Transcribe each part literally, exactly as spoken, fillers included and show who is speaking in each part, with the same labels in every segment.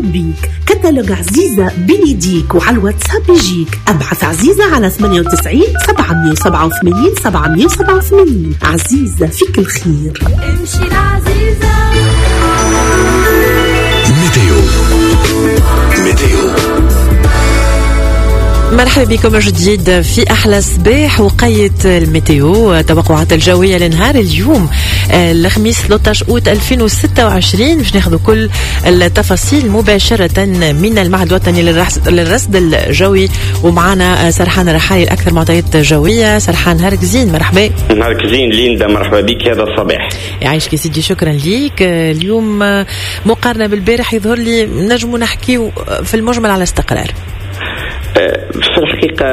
Speaker 1: بيك. كتالوج عزيزة بين يديك وعلى الواتساب يجيك. أبعث عزيزة على ثمانية وتسعين سبعمية وسبعة وثمانين سبعمية وسبعة وثمانين. عزيزة فيك الخير.
Speaker 2: امشي العزيزة.
Speaker 3: météo météo.
Speaker 4: مرحبا بكم جديد في أحلى صباح وقيت ال météo، توقعات الجوية لنهار اليوم الخميس ثلاثة عشر أوت ألفين وستة وعشرين، باش ناخذ كل التفاصيل مباشرة من المعهد الوطني للرصد الجوي، ومعنا سرحان رحالي الأكثر معطيات جوية. سرحان نهارك زين، مرحبا.
Speaker 5: نهارك زين ليندا، مرحبا بك هذا الصباح.
Speaker 4: يعيشك يا سيدي، شكرا ليك. اليوم مقارنة بالبارح يظهر لي نجم نحكي في المجمل على استقرار.
Speaker 5: في الحقيقة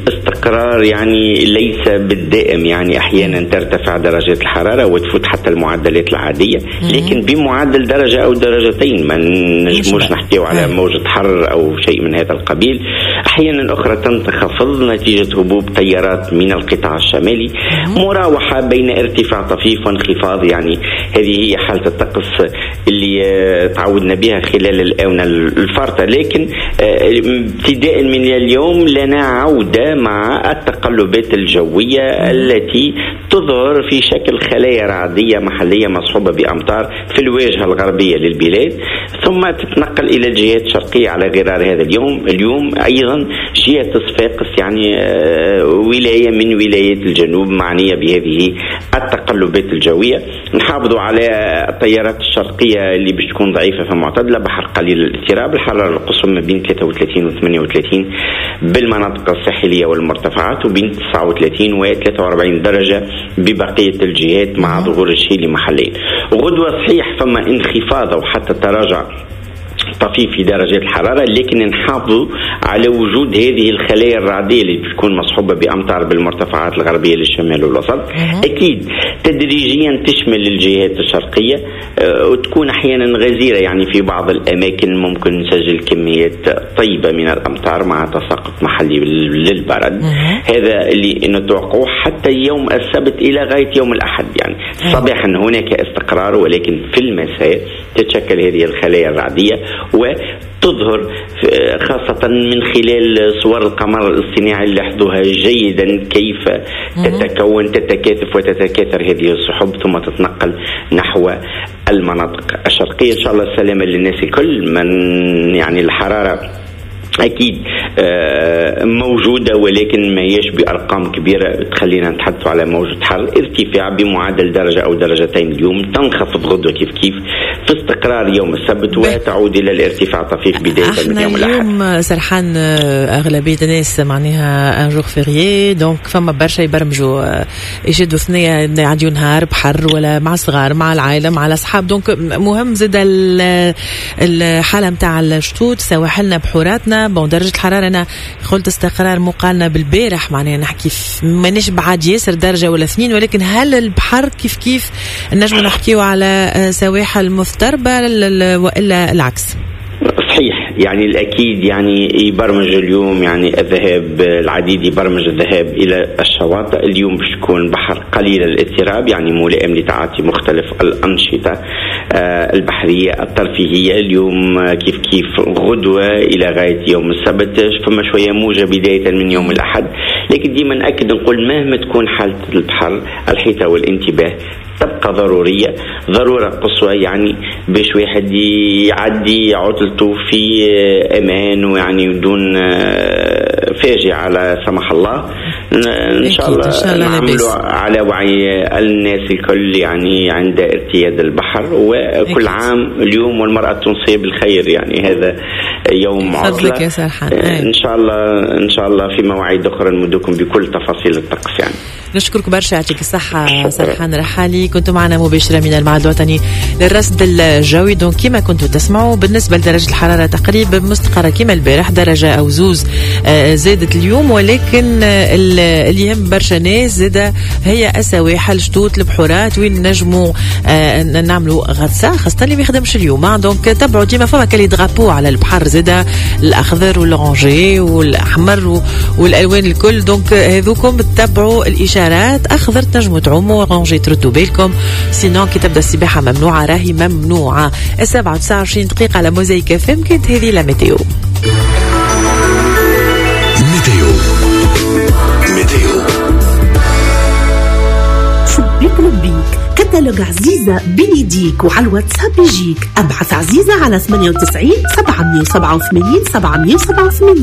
Speaker 5: استقرار يعني ليس بالدائم، يعني أحيانا ترتفع درجات الحرارة وتفوت حتى المعدلات العادية، لكن بمعدل درجة أو درجتين، ما نجموش نحكيو على موجة حر أو شيء من هذا القبيل. أحيانا أخرى تنخفض نتيجة هبوب تيارات من القطاع الشمالي، مراوحة بين ارتفاع طفيف وانخفاض. يعني هذه هي حالة الطقس اللي تعودنا بها خلال الآونة الفارطة، لكن ابتداء من اليوم لنا عودة مع التقلبات الجوية التي تظهر في شكل خلايا رعدية محلية مصحوبة بأمطار في الواجهة الغربية للبلاد، ثم تتنقل إلى الجهات الشرقية على غرار هذا اليوم. اليوم أيضا جهة صفاقس يعني ولاية من ولايات الجنوب معنية بهذه التقلبات الجوية. نحافظ على التيارات الشرقية اللي باش تكون ضعيفة فمعتدلة، بحر قليل الاضطراب، الحرارة القصوى ما بين ثلاثة وثلاثين و ثمانية وثلاثين بالمناطق الساحلية والمرتفعات، وبين تسعة وثلاثين و ثلاثة وأربعين درجة ببقية الجهات مع ظهور الشيل محليا. غدوة صحيح فما انخفاض أو حتى تراجع طفيف في درجات الحرارة، لكن نحافظ على وجود هذه الخلايا الرعدية اللي بتكون مصحوبة بأمطار بالمرتفعات الغربية للشمال والوسط. أكيد تدريجيا تشمل الجهات الشرقية وتكون أحيانا غزيرة، يعني في بعض الأماكن ممكن نسجل كميات طيبة من الأمطار مع تساقط محلي للبرد. هذا اللي نتوقعه حتى يوم السبت إلى غاية يوم الأحد. يعني صباحا هناك استقرار، ولكن في المساء تتشكل هذه الخلايا الرعدية وتظهر خاصة من خلال صور القمر الاصطناعي اللي لاحظوها جيدا كيف تتكون تتكاثف وتتكاثر هذه السحب ثم تتنقل نحو المناطق الشرقية. إن شاء الله السلامة للناس الكل. من يعني الحرارة أكيد موجودة، ولكن ما هيش بأرقام كبيرة تخلينا نتحدث على موجة حر. ارتفاع بمعدل درجة أو درجتين اليوم، تنخفض غدوة كيف كيف في استقرار يوم السبت وتعود إلى الارتفاع طفيف بداية من يوم الأحد.
Speaker 4: اليوم سرحان أغلبية الناس معناها un jour férié، donc فما برشا يبرمجوا يشدوا ثنية يعديوا نهار بحر ولا مع الصغار مع العائلة مع الأصحاب. donc مهم زاد الحالة متاع الشطوط، سواحلنا بحوراتنا. bon درجة الحرارة أنا قلت استقرار مقارنة بالبارح، معناها نحكي مانيش بعاد ياسر درجة ولا اثنين، ولكن هل البحر كيف كيف نجم نحكيو على سواحل مضطربة وإلا العكس؟
Speaker 5: صحيح، يعني الأكيد يعني يبرمج اليوم يعني الذهاب، العديد يبرمج الذهاب إلى الشواطئ. اليوم باش تكون بحر قليل الاضطراب، يعني ملائم لتعاطي مختلف الأنشطة البحرية الترفيهية. اليوم كيف كيف غدوة إلى غاية يوم السبت فما شوية موجة بداية من يوم الأحد، لكن ديما نأكد نقول مهما تكون حالة البحر الحيطة والانتباه تبقى ضرورية، ضرورة قصوى، يعني باش واحد يعدي عطلته في أمان ويعني دون فاجعة لا سمح الله. إن شاء الله نعملوا على وعي الناس الكل يعني عند ارتياد البحر. وكل أكيد. عام اليوم والمرأة التونسية بالخير، يعني هذا يوم عطلة
Speaker 4: يا سرحان.
Speaker 5: إن شاء الله إن شاء الله في مواعيد أخرى نمدكم بكل تفاصيل الطقس. يعني
Speaker 4: نشكرك برشا، يعطيك الصحة سرحان رحالي، كنتم معنا مباشرة من المعهد الوطني للرصد الجوي. donc كما كنتوا تسمعوا بالنسبة لدرجة الحرارة تقريبا مستقرة كما البارح، درجة أو زوز زادت اليوم، ولكن اللي يهم برشا ناس زادة هي السواحل، شطوط، البحورات وين نجموا نعملوا غطسة، خاصة اللي ما يخدمش اليوم. donc تبعوا ديما فما كالي drapeaux على البحر زادة، الأخضر وال orangé والأحمر والألوان الكل، donc هذوكم تبعوا الإشارات. اشارات اخضر تنجموا تعوموا، orangé تردوا بالكم، sinon كي تبدا السباحة ممنوعة راهي ممنوعه. السبعة وتسعة وعشرين دقيقة على موزايك اف ام، كانت هذه la météo.
Speaker 3: météo météo.
Speaker 1: شبيك لبيك، كتالوج عزيزة بين يديك وعلى الواتساب يجيك. ابعث عزيزة على ثمانية وتسعين سبعمية وسبعة وثمانين سبعمية وسبعة وثمانين.